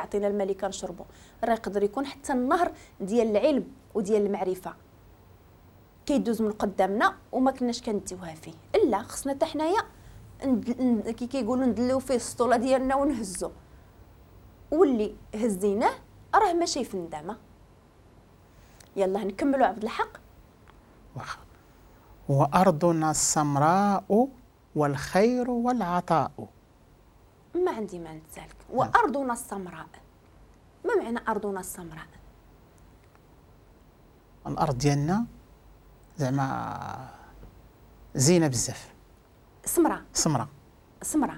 كيعطينا الماء اللي كنشربو، راه يقدر يكون حتى النهر ديال العلم وديال المعرفة كيدوز من قدامنا وما كناش كنديوها فيه. الا خصنا حتى حنايا كي كيقولوا ندليو فيه السطوله ديالنا ونهزو، واللي هزيناه راه ماشي في الندامة. يلا نكملوا عبد الحق. واخا. وأرضنا السمراء والخير والعطاء. ما عندي ما نتسالك. وأرضنا السمراء، ما معنى أرضنا السمراء؟ الأرض ديالنا زعما زينة بزاف. سمراء. سمراء. سمراء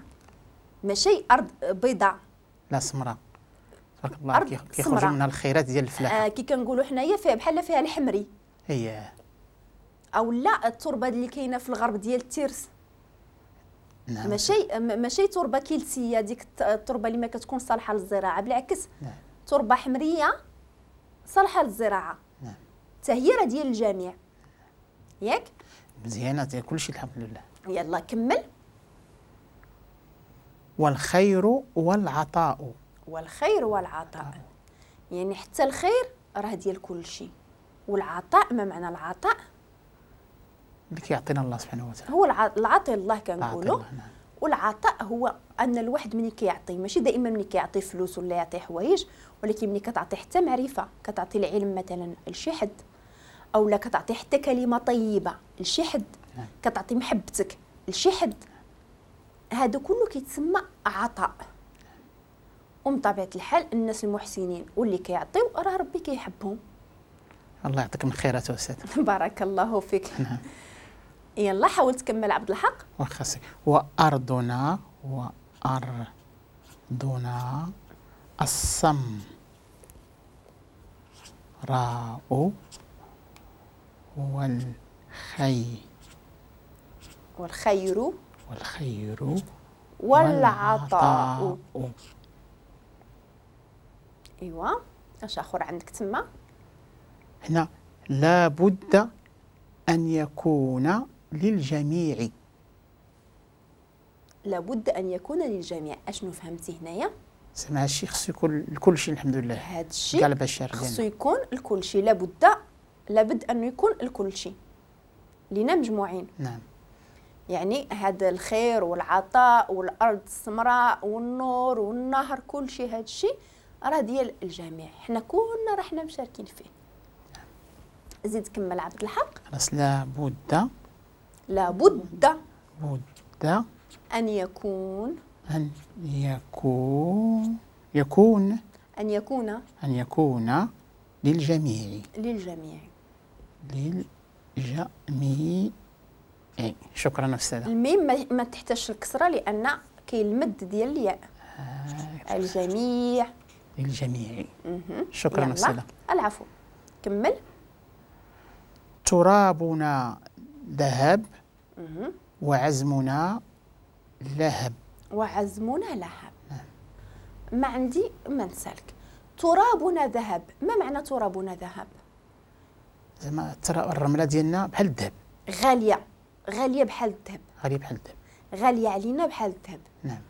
ماشي أرض بيضاء. لا سمراء تبارك الله، كيخرجوا منها الخيرات ديال الفلاحة. كي كنقولوا حنايا فيها بحال فيها الحمري. اييه. او لا التربة اللي كاينه في الغرب ديال الترس. نعم. ماشي تربه كلسيه، ديك التربة اللي ما كتكون صالحه للزراعة، بالعكس. نعم. تربه حمريه صالحه للزراعة. نعم. حتى هي راه ديال الجميع. ياك؟ مزيانه ديال كلشي الحمد لله. يلا كمل. والخير والعطاء. والخير والعطاء، يعني حتى الخير راه ديال كل شيء، والعطاء ما معنى العطاء؟ اللي كيعطينا الله سبحانه وتعالى، هو العطي الله كنقولوا. نعم. والعطاء هو ان الواحد ملي كيعطي، ماشي دائما ملي كيعطي فلوس ولا يعطي حوايج، ولكن ملي كتعطي حتى معرفة، كتعطي العلم مثلا لشي حد، او لا كتعطي حتى كلمة طيبة لشي حد. نعم. كتعطي محبتك لشي حد، هذا كله كيتسمى عطاء. ومن طبيعة الحال الناس المحسنين واللي كيعطيو راه ربي كيحبهم. الله يعطيك من خيراته أستاذ. بارك الله فيك. نعم. يلا حاول تكمل عبد الحق. واخا. وأرضنا السمراء والخير والخير والعطاء. ايوا اش اخر عندك تما؟ هنا لابد ان يكون للجميع. لابد ان يكون للجميع، اشنو فهمتي هنايا؟ زعما هادشي خصو يكون لكل شيء الحمد لله. هادشي كاع البشر خصو يكون لكل شيء، لابد انه يكون لكل شيء لينا مجموعين. نعم. يعني هذا الخير والعطاء والارض السمراء والنور والنهر، كل شيء هذا الشيء راه ديال الجميع، حنا كلنا راه حنا مشاركين فيه. زيد كمل عبد الحق. خلاص. لابد بد ان يكون ان يكون يكون ان يكون ان يكون للجميع. للجميع. للجميع. شكرا أستاذة. الميم ما تحتاجش الكسرة لأن كاين المد ديال الياء. الجميع. للجميع. شكرا أستاذة. العفو. كمل. ترابنا ذهب وعزمنا لهب. وعزمنا لهب. ما عندي ما نسالك. ترابنا ذهب، ما معنى ترابنا ذهب؟ زعما الرملة ديالنا بحال الذهب. غالية، غالية بحال الذهب. غالية بحال الذهب. غالية علينا بحال الذهب. نعم.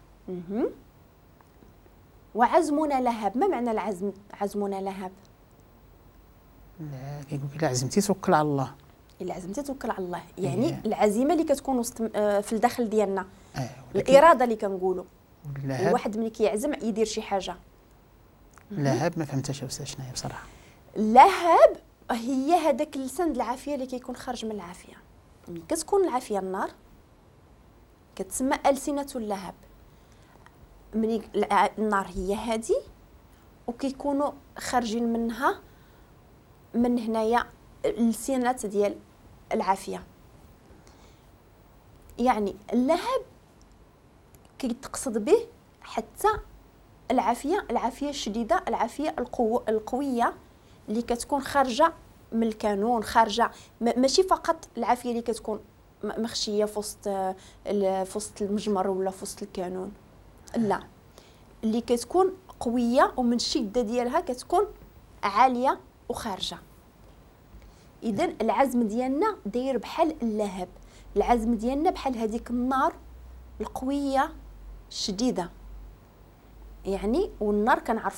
وعزمنا لهب، ما معنى العزم؟ عزمنا لهب. لا كيقول لك الا عزمتي توكل على الله. الا عزمتي توكل على الله، يعني العزيمة اللي كتكون وسط في الداخل ديالنا. الارادة اللي كنقولوا. الواحد ملي كيعزم يدير شي حاجة. لهب ما فهمتهاش أستاذ شنو هي بصراحة. لهب هي هذاك اللسان العافية اللي كيكون خارج من العافية. ملي كتكون العافية النار كتسمى ألسنة اللهب. ملي النار هي هذه وكيكونوا خارجين منها من هنايا اللسانات ديال العافية. يعني اللهب كيتقصد به حتى العافية، العافية الشديدة، العافية القوية اللي كتكون خارجه من الكانون، خارجه ماشي فقط العافية اللي كتكون مخشيه في وسط المجمر ولا في وسط الكانون، لا، اللي كتكون قوية ومن الشدة ديالها كتكون عالية وخارجه. اذا العزم ديالنا داير بحال اللهب، العزم ديالنا بحال هذيك النار القوية الشديدة، يعني والنار كنعرفوها